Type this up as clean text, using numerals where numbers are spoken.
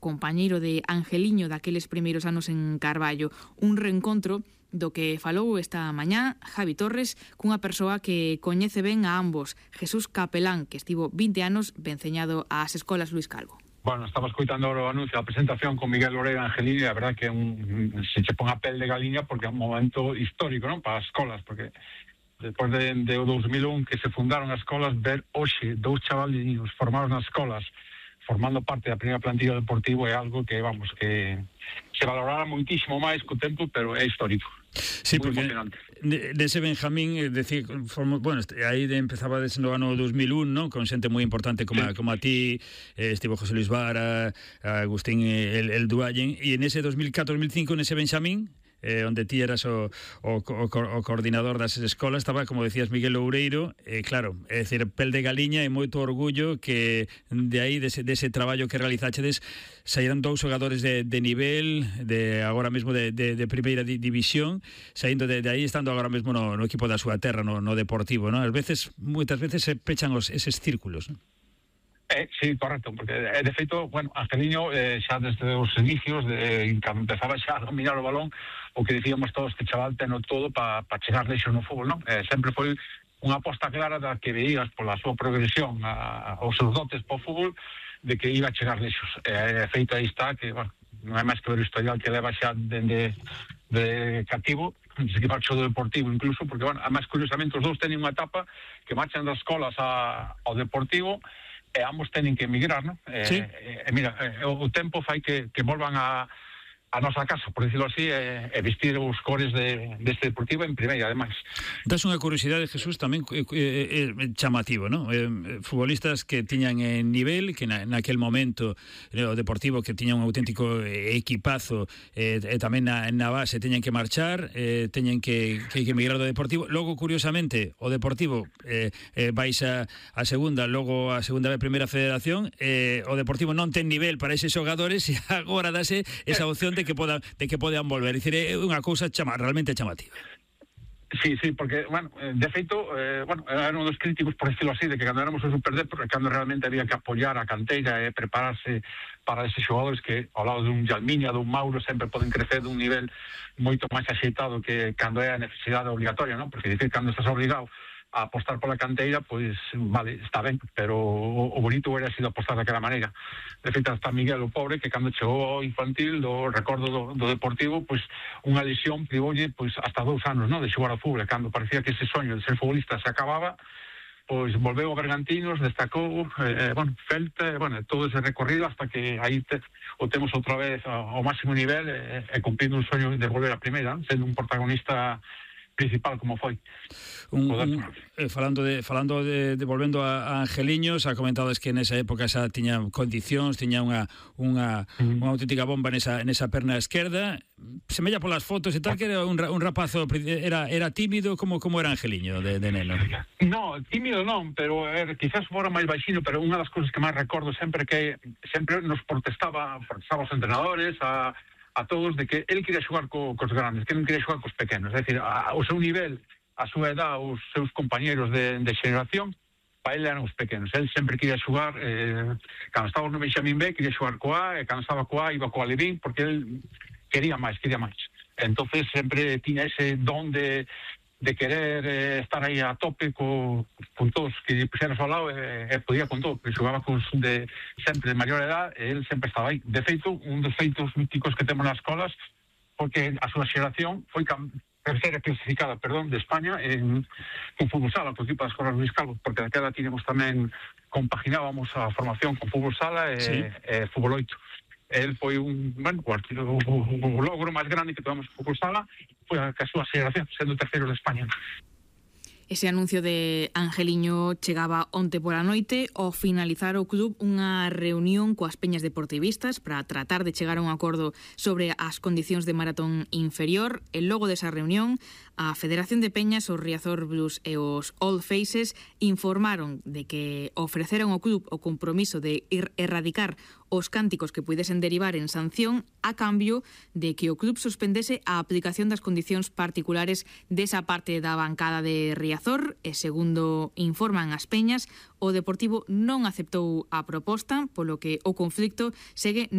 compañeiro de Angeliño daqueles primeiros anos en Carballo. Un reencontro do que falou esta mañá Javi Torres cunha persoa que coñece ben a ambos, Jesús Capelán, que estivo 20 anos venceñado ás escolas Luís Calvo. Bueno, estaba escoitando o anuncio da presentación con Miguel Loreira Angelini, e a verdad que se che pon a pel de galiña porque é un momento histórico, non, para as escolas, porque despois de 2001 que se fundaron as escolas, ver hoxe dous chavaliños formados nas escolas formando parte da primeira plantilla deportivo é algo que, vamos, que se valorará moitísimo máis co tempo, pero é histórico. Sí, muy porque dese Benjamín, decir, bueno, aí empezaba desde no ano 2001, ¿no? Con xente moi importante como a ti, estivo José Luis Vara, Agustín el Duallen, e en ese 2004-2005 nese Benjamín, onde ti eras o coordinador das escolas, estaba, como decías, Miguel Loureiro, claro, é dicir, pel de galiña e moito orgullo que de aí, dese traballo que realizachedes, saíran dous xogadores de nivel, de agora mesmo de primeira división, saindo de aí, estando agora mesmo no equipo da súa terra, no Deportivo, ¿no? Moitas veces se pechan eses círculos, ¿no? Sí, correcto, porque de feito, bueno, Angeliño xa desde os inicios, cando empezaba xa a dominar o balón, o que dicíamos todos que chaval teno todo para chegar lexos no fútbol, non? Sempre foi unha aposta clara da que veías pola súa progresión aos seus dotes para o fútbol, de que iba a chegar lexos. Feito aí está, que, bueno, non é máis que ver o historial que leva xa de cativo, se que marchou do Deportivo incluso, porque, bueno, además, curiosamente, os dous teñen unha etapa que marchan das escolas ao Deportivo, e ambos teñen que emigrar, non? Sí. Mira, o tempo fai que volvan a nosa casa, por decirlo así, e vestir os cores deste Deportivo en primeira, ademais. Das unha curiosidade, Jesús, tamén chamativo, non? Futbolistas que tiñan nivel, que naquel momento o Deportivo que tiña un auténtico equipazo, e tamén na base teñen que marchar, teñen que emigrar do Deportivo. Logo, curiosamente, o Deportivo vais a segunda, logo a segunda vez primeira federación, o Deportivo non ten nivel para eses xogadores e agora dase esa opción de que podan volver. É dicir, é unha cousa realmente chamativa. Sí, porque, bueno, de feito, bueno, era un dos críticos, por decirlo así, de que cando éramos o Superdep, cando realmente había que apoiar a canteira e prepararse para eses xogadores que, ao lado dun Yalmiña, dun Mauro, sempre poden crecer dun nivel moito máis axeitado que cando é a necesidade obligatoria, non? Porque, dicir, cando estás obrigado a apostar pola canteira, pois, vale, está ben, pero o bonito hubiera sido apostar daquela maneira. De feito, hasta Miguel, o pobre, que cando chegou ao infantil, do recordo do Deportivo, pois, unha lesión privoulle, pois, hasta 2 anos, non, de xogar ao fútbol, cando parecía que ese soño de ser futbolista se acababa, pois, volveu a Bergantinos, destacou, bueno, Celta, bueno, todo ese recorrido, hasta que aí o temos outra vez ao máximo nivel, e cumplindo un soño de volver a primeira, sendo un protagonista principal como foi. Falando de volvendo a Angeliño, xa comentades que nesa época xa tiña condicións, tiña unha auténtica bomba nesa perna esquerda. Semella polas fotos e tal que era un rapazo, era tímido, como era Angeliño de neno? No, tímido non, pero quizás fora máis baixino, pero unha das cousas que máis recordo sempre que sempre nos protestaba os entrenadores, a todos, de que ele quería xogar cos grandes, que non quería xogar cos pequenos. É dicir, o seu nivel, a súa edad, os seus compañeros de xeración, para ele eran os pequenos. Ele sempre quería xogar, cando estaba no Benjamín B, quería xogar coa, e cando estaba coa, iba coa Levín, porque ele quería máis. Entonces sempre tiña ese don de querer estar aí a tope con todos que puxeras ao lado, e podía con todo, porque xogaba sempre de maior edad, e ele sempre estaba aí. De feito, un dos feitos míticos que temos nas escolas, porque a súa xeración foi terceira clasificada, de España en fútbol sala, co equipo das escolas Luís Calvo, porque daquela tiñamos tamén, compaginábamos a formación con fútbol sala e fútbol 8. Él foi o logro máis grande que tomamos en fútbol sala, foi a súa xeración, sendo terceiro de España. Ese anuncio de Angeliño chegaba onte pola noite. Ao finalizar o club unha reunión coas peñas deportivistas para tratar de chegar a un acordo sobre as condicións de maratón inferior. E logo desa reunión, a Federación de Peñas, os Riazor Blues e os Old Faces informaron de que ofreceron ao club o compromiso de erradicar os cánticos que puidesen derivar en sanción a cambio de que o club suspendese a aplicación das condicións particulares desa parte da bancada de Riazor. E segundo informan as peñas, o Deportivo non aceptou a proposta, polo que o conflicto segue